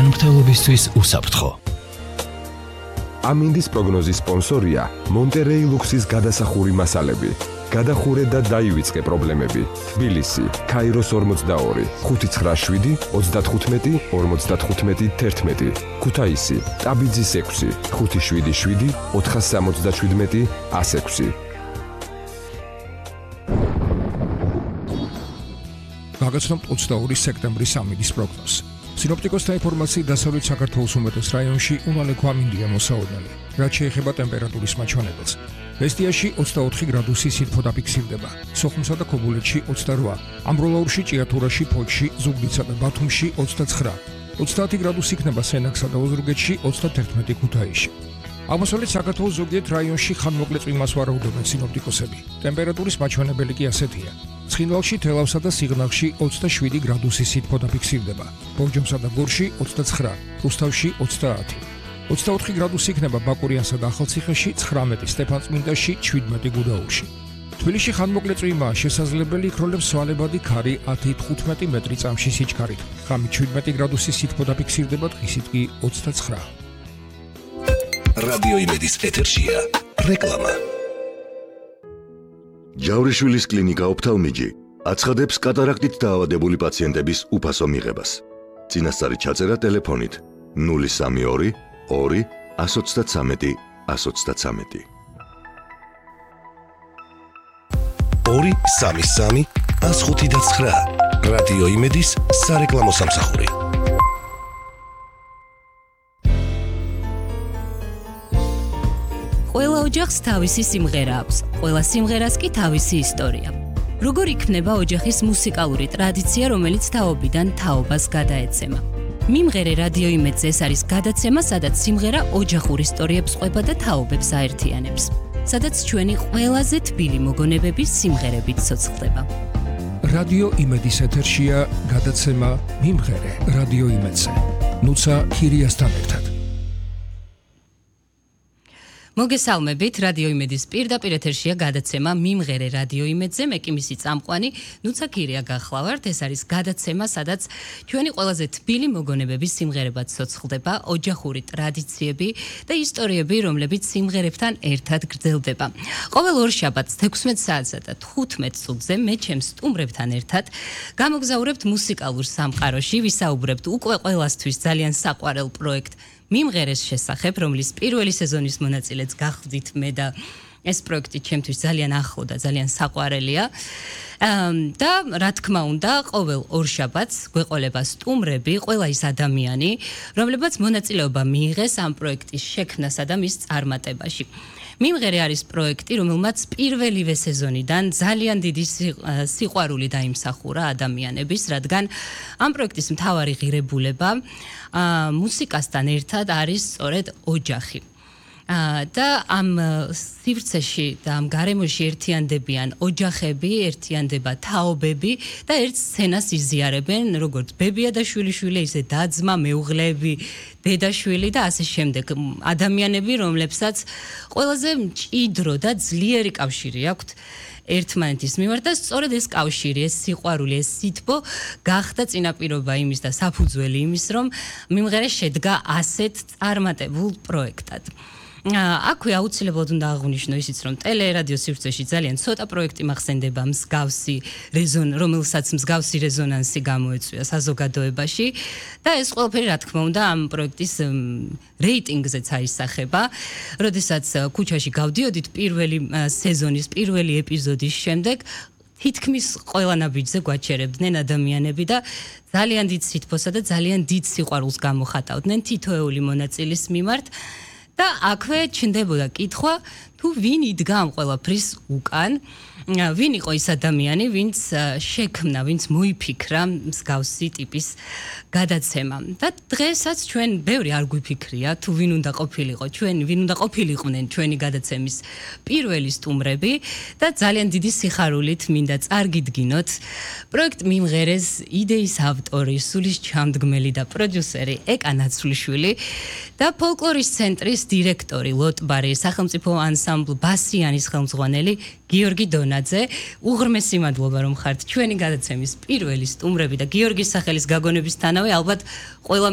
ჯანმრთელობისთვის უსაფრთხო. ამინდის პროგნოზის სპონსორია მონტერეი ლუქსის გადასახური მასალები. გადახურე და დაივიწყე პრობლემები. თბილისი, ქაიროს 42, 597, 35, 55, 11. ქუთაისი, ტაბიძის 6, 577, 477, 106. გაგაცნობთ 22 სექტემბრის ამინდის პროგნოზს. სინოპტიკოსთა ინფორმაციით დასავლეთ საქართველოს უმეტეს რაიონში უნალექო ამინდია მოსაოდნელი, რაც შეეხება ტემპერატურის მაჩვენებელს. ბესტიაში 24 გრადუსი სითბო დაფიქსირდება, სოხუმსა და ქობულეთში 28, ამბროლაურში, ჭიათურაში, ფოთში, ზუგდიდსა და ბათუმში 29, 30 გრადუსი იქნება სენაკსა და ოზურგეთში, 31 ქუთაისში. აღმოსავლეთ საქართველოს ზოგიერთ რაიონში ხანმოკლე წვიმას ვარაუდობენ სინოპტიკოსები. ტემპერატურის მაჩვენებელი კი ასეთია. ცხინვალში, თელავსა და სიღნაღში 27 გრადუსი სითბო დაფიქსირდება, ბორჯომსა და გორში 29, რუსთავში 30. 24 გრადუსი იქნება ბაკურიანსა და ახალციხეში, 19 სტეფანწმინდაში, 17 გუდაურში. თბილისში ხანმოკლე წვიმაა შესაძლებელი, იქროლებს სვალებადი ქარი 10-15 მეტრი წამში სიჩქარით. ღამით 17 გრადუსი სითბო დაფიქსირდება, დღისით კი 29. რადიო იმედის ეთერშია რეკლამა. ჯავრიშვილის კლინიკა ოფთალმიჯი აცხადებს კატარაქტით დაავადებული პაციენტების უფასო მიღებას. წინასწარი ჩაწერა ტელეფონით 032 2 133 133. 233 159 რადიო იმედის სარეკლამო სამსახური. ყველა ოჯახს თავისი სიმღერა აქვს, ყველა სიმღერას კი თავისი ისტორია. როგორ იქნება ოჯახის მუსიკალური ტრადიცია, რომელიც თაობიდან თაობას გადაეცემა? მიმღერე რადიო იმედზე ეს არის გადაცემა, სადაც სიმღერა ოჯახურ ისტორიებს ყვება და თაობებს აერთიანებს. სადაც ჩვენი ყველაზე თბილი მოგონებები სიმღერებით ცოცხლდება. რადიო იმედის ეთერშია გადაცემა მიმღერე რადიო იმედზე. ნუცა ქირიასთან ერთად. მოგესალმებით, რადიო იმედის პირდაპირ ეთერშია გადაცემა მიმღერე რადიო იმედზე, მე კი მისი წამყვანი ნუცა ქირია გახლავართ. ეს არის გადაცემა, სადაც ჩვენი ყველაზე თბილი მოგონებები სიმღერებად ცოცხლდება, ოჯახური ტრადიციები და ისტორიები, რომლებიც სიმღერებთან ერთად გრძელდება. ყოველ ორ შაბათს 16 საათსა და 15 წუთზე მე ჩემს სტუმრებთან ერთად გამოგზაურებთ მუსიკალურ სამყაროში, ვისაუბრებთ უკვე ყველასთვის ძალიან საყვარელ პროექტ მიმღერეს შესახებ, რომლის პირველი სეზონის მონაწილეც გახდით მე და ეს პროექტი ჩემთვის ძალიან ახლო და ძალიან საყვარელია. და რა თქმა უნდა, ყოველ ორ შაბათს გვეყოლება სტუმრები, ყველა ის ადამიანი, რომლებაც მონაწილეობა მიიღეს ამ პროექტის შექმნასა და მის წარმატებაში. მიმღერე არის პროექტი, რომელმაც პირველივე სეზონიდან ძალიან დიდი სიყვარული დაიმსახურა ადამიანების, რადგან ამ პროექტის მთავარი ღირებულება მუსიკასთან ერთად არის სწორედ ოჯახი. და ამ სივრცეში და ამ გარემოში ერთიანდებიან ოჯახები, ერთიანდება თაობები და ერთ სცენას იზიარებენ, როგორც ბებია და შვილიშვილი, ისე და-ძმა, მეუღლეები, დედა-შვილი და ასე შემდეგ. ადამიანები, რომლებსაც ყველაზე მჭიდრო და ძლიერი კავშირი აქვთ ერთმანეთის მიმართ და სწორედ ეს კავშირი, ეს სიყვარული, ეს სითბო გახდა წინაპირობა იმის და საფუძველი იმის, რომ მიმღერე შედგა ასეთ წარმატებულ პროექტად. აქვე აუცილებლად უნდა აღვნიშნო ისიც, რომ ტელერადიო სივრცეში ძალიან ცოტა პროექტი მახსენდება მსგავსი რომელსაც მსგავსი რეზონანსი გამოეწვია საზოგადოებაში და ეს ყველაფერი რა თქმა უნდა ამ პროექტის რეიტინგზეც აისახება. როდესაც ქუჩაში გავდიოდით პირველი სეზონის პირველი ეპიზოდის შემდეგ, თითქმის ყველა ნაბიჯზე გვაჩერებდნენ ადამიანები და ძალიან დიდ სითბოსა და ძალიან დიდ სიყვარულს გამოხატავდნენ თითოეული მონაწილის მიმართ. და აქვე ჩნდებოდა კითხვა, თუ ვინ იდგა ამ ყველაფრის უკან, ვინ იყო ის ადამიანი, ვინც შექმნა, ვინც მოიფიქრა მსგავსი ტიპის გადაცემა. და დღესაც ჩვენ ბევრი არ გვიფიქრია, თუ ვინ უნდა ყოფილიყო, ვინ უნდა ყოფილიყვნენ ჩვენი გადაცემის პირველი სტუმრები და ძალიან დიდი სიხარულით მინდა წარგიდგინოთ პროექტ მიმღერეს იდეის ავტორი, სულის ჩამდგმელი და პროდიუსერი ეკა ნაცვლიშვილი და ფოლკლორის ცენტრის დირექტორი ლოტბარი, სახელმწიფო ანსამბლ ბასიანის ხელმძღვანელი გიორგი დონაძე. უღრმესი მადლობა რომ ხართ ჩვენი გადაცემის პირველი სტუმრები და გიორგის სახელის გაგონებისთანავე ალბათ ყველა